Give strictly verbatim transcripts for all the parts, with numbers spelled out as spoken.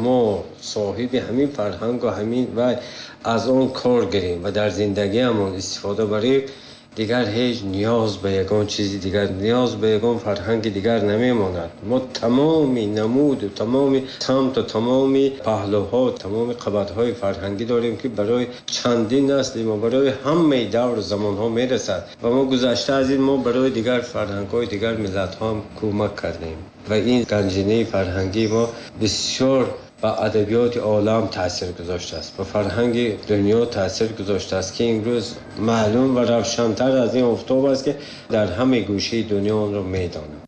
Мо соҳиби ҳамин фарҳангу ҳамин ва аз он кор гирем ва дар зиндагиамон истифода барем, дигар ҳеҷ ниёз ба ягон чизи дигар, ниёз ба ягон фарҳанги дигар намемонад. Мо тамоми намуду тамоми самту тамоми паҳлӯҳо, тамоми қабатҳои фарҳангӣ дорем, ки барои чандин насли мо, барои ҳамаи давру замонҳо мерасад ва мо гузашта аз ин мо барои дигар фарҳангҳои дигар миллатҳо ҳам кӯмак кардем ва ин ганҷинаи фарҳангии мо бисёр ба адабиёти олам таъсир гузоштааст, ба фарҳанги дунё таъсир гузоштааст, ки имрӯз маълум ва равшантар аз ин офтоб аст, ки дар ҳамаи гӯшаи дунё онро медонанд.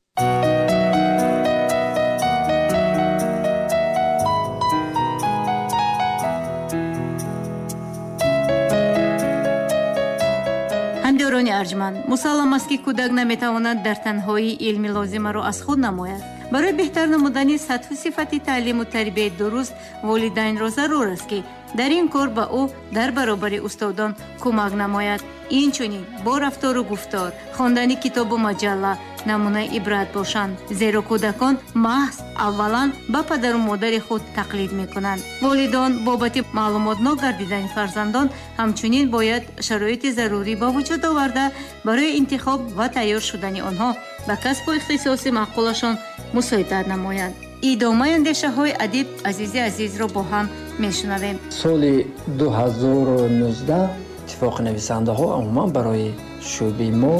Ҳамдиёрони арҷманд, мусаллам аст, ки кӯдак наметавонад дар танҳоӣ илми лозимаро аз худ намояд. Барои беҳтар намудани сатҳу сифати таълиму тарбияи дуруст волидайнро зарур аст, ки дар ин кор ба ӯ дар баробари устодон кӯмак намояд. Инчунин бо рафтору гуфтор, хондани китобу маҷалла намунаи ибрат бошанд, зеро кӯдакон маҳз аввалан ба падару модари худ тақлид мекунанд. Волидон бобати маълумотнок гардидани фарзандон ҳамчунин бояд шароити зарурӣ ба вуҷуд оварда, барои интихоб ва тайёр шудани онҳо ба касбу ихтисоси маъқулашон мусоидат намоянд. Идомаи андешаҳои адиб Азизи Азизро бо ҳам мешунавем. Соли ду ҳазору нуздаҳ иттифоқи нависандаҳо умуман барои шӯъбаи мо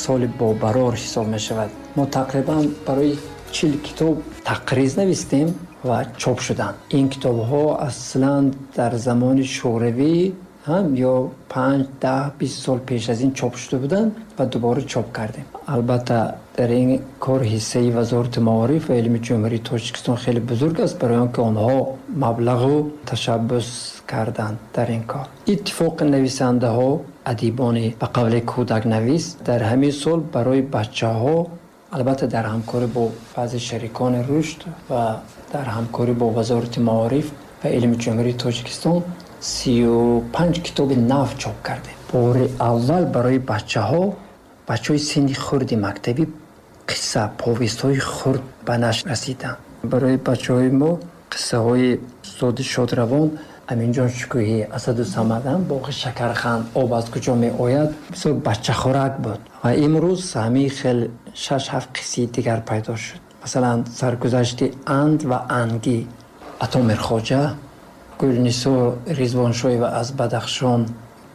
соли бобарор ҳисоб мешавад. Мо тақрибан барои чил китоб тақриз навистем ва чоп шуданд. Ин китобҳо аслан дар замони шӯравӣ ҳам ё панҷ, даҳ, бист сол пеш аз ин чоп шуда буданд ва дубора чоп кардем. Албатта дар ин кор ҳиссаи Вазорати маориф ва илми Ҷумҳурии Тоҷикистон хеле бузург аст, барои он ки онҳо маблағу ташаббус карданд дар ин кор. Иттифоқи нависандаҳо, адибони ба қавли кӯдакнавис дар ҳамин сол барои бачаҳо, албатта дар ҳамкорӣ бо баъзе шарикони рушд ва дар ҳамкорӣ бо Вазорати маориф ва илми Ҷумҳурии Тоҷикистон сию панҷ китоби нав чоп кардем. Бори аввал барои бачаҳо, бачаҳои синни хурди мактабӣ қисса, повестҳои хурд ба нашр расиданд. Барои бачаҳои мо қиссаҳои устоди шодравон Аминҷон Шукӯҳӣ, Асаду Самадан, боғи Шакарханд, об аз куҷо меояд, бисёр бачахӯрак буд. Ва имрӯз ҳамин хел шаш-ҳафт қиссаи дигар пайдо шуд. Масалан, саргузашти Анд ва Ангӣ, Ато Мирхоҷа, Гулнисо Ризвоншоева аз Бадахшон,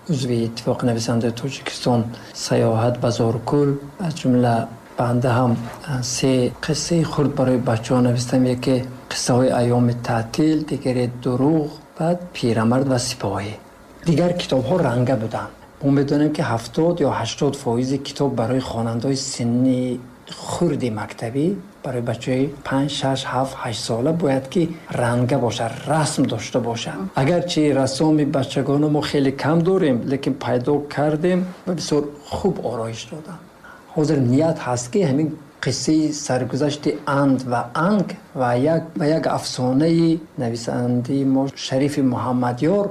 узви Иттифоқи нависандаи Тоҷикистон, Саёҳат ба Зоркул, аз ҷумла банда ҳам се қиссаи хурд барои бачаҳо навистам. Яке қиссаҳои айёми таътил, дигаре дурӯғ, баъд пирамард ва сипоҳӣ. Дигар китобҳо ранга буданд. Мо медонем, ки ҳафтод ё ҳаштод фоизи китоб барои хонандаҳои синни хурди мактабӣ, барои бачаҳои панҷ, шаш, ҳафт, ҳашт сола бояд ки ранга бошад, расм дошта бошад. Агарчи рассоми бачагона мо хеле кам дорем, лекин пайдо кардем ва бисёр хуб ороиш додам. Ҳозир ният ҳаст, ки ҳамин қиссаи саргузашти Анд ва Анг ва як, ва як афсонаи нависандаи мо Шарифи Муҳаммадёр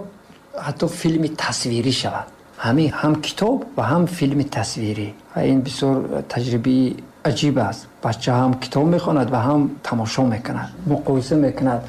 ҳатто филми тасвирӣ шавад. Ҳамин ҳам китоб ва ҳам филми тасвирӣ. Ва ин бисёр таҷрибаи аҷиб аст. Бача ҳам китоб мехонад ва ҳам тамошо мекунад, муқоиса мекунад.